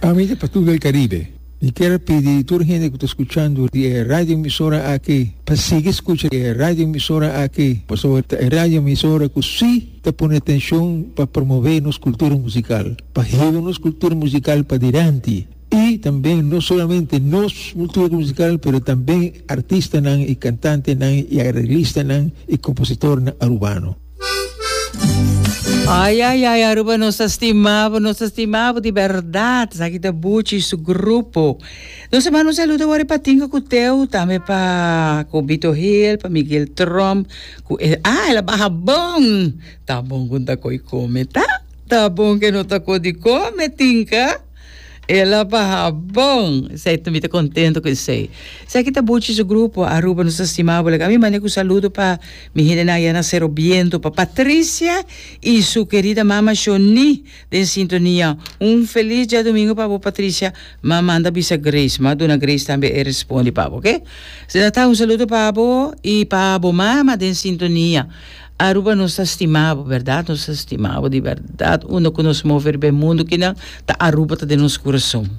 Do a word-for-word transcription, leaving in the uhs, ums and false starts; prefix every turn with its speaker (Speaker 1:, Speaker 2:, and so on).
Speaker 1: Ami ta Patu del Caribe. Mi kier pidi tur hende cu ta scuchando di radio emisora aki, pa sigui scucha e radio emisora aki, pasobra e radio emisora cu si ta pone atencion pa promove nos cultura musical, pa hiba nos cultura musical pa dilanti. Y tambe no solamente nos cultura musical, pero tambe artistanan y cantantenan y areglistanan y compositornan arubano.
Speaker 2: Ai, ai, ai, Aruba, nos stima bo, nos stima bo di berdad. Aki ta Buchi su grupo. Nos ta manda un saludo awor pa Tinka Cuteu, tambe pa Cobito Hill, pa Miguel Trump. Ah, el a baha bon. Ta bon cu ta coi come, ta? Ta bon cu no ta coi come, Tinka. El a baha bon. Esey tambe ta contento cu esey. Esaki ta Buchi su grupo, Aruba, nos stima bo. Ami manda un saludo pa mi hendenan na Cero Biento, pa Patricia y su querida mama Shoni den sintonia. Un feliz diadomingo pa Patricia. M'a manda bisa Grace, m'a duna Grace tambe e responde pa bo, ok? Ta un saludo pa bo y pa bo mama den sintonia. Aruba nos stima bo, berdad? Nos stima bo di berdad. Unda cu nos move den mundo cu no, ta Aruba ta den nos curason.